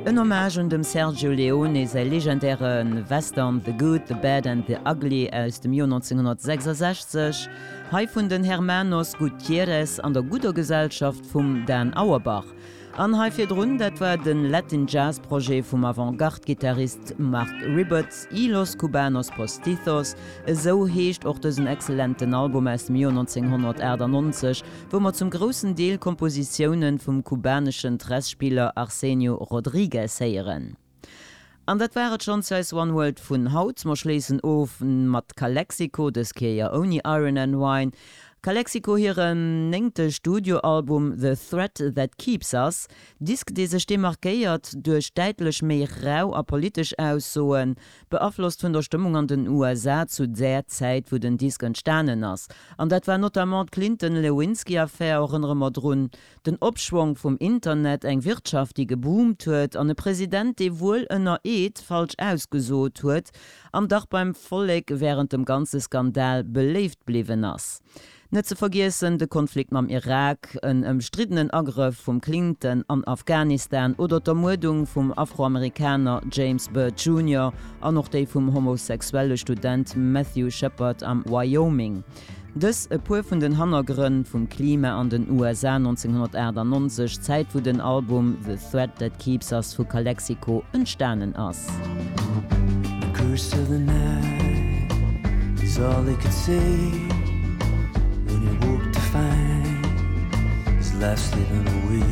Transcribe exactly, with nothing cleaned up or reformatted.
En Hommage un dem Sergio Leone säi legendäre Western The Good, the Bad and the Ugly aus dem Joer neunzénghonnertsechsasechzeg, hei vun den Hermanos Gutierrez an der gudder Gesellschaft vum Dan Auerbach. An hei virdrun, dat war de Latin Jazz Projet vum Avantgarde-Gittarist Marc Ribot, Y Los Cubanos Postizos, esou heescht och dësen exzellenten Album aus dem Joer neunzénghonnertaachtannonzeg, wou mer zum groussen Deel Kompositioune vum kubaneschen Tres-Spiller Arsenio Rodríguez héieren. An dat war et schonns fir eis One World vun haut. Mer schléissen of mat Calexico, dës Kéier ouni Iron and Wine. Calexico hiren néngte Studioalbum The Thread That Keeps Us, Disk dee sech demarkéiert duerch däitlech méi rau a politesch Aussoen, beaflosst vun der Stëmmung an den U S A zu där Zäit, wou den Disk entstanen ass. An dat war notamment d'Clinton-Lewinsky-Affär, erënnere mer drun, den Opschwong vum Internet, eng Wirtschaft, déi geboomt huet, an e President, dee wuel ënner Eed falsch ausgesot huet an dach beim Vollek wärend dem ganze Skandal beléift bliwwen ass. Net ze vergiessen de Konflikt mam Irak, en ëmstriddenen Agrëff vum Clinton an Afghanistan oder d'Ermuerdung vum Afroamerikaner James Byrd Junior an och déi vum homosexuelle Student Matthew Shepard am Wyoming. Dës e puer vun den Hannergrënn vum Klima an den U S A neunzénghonnertaachtannonzeg, Zäit, wou den Album The Thread That Keeps Us vu Calexico entstanen ass. The curse of the night is all he could say when he woke to find his life slipping away.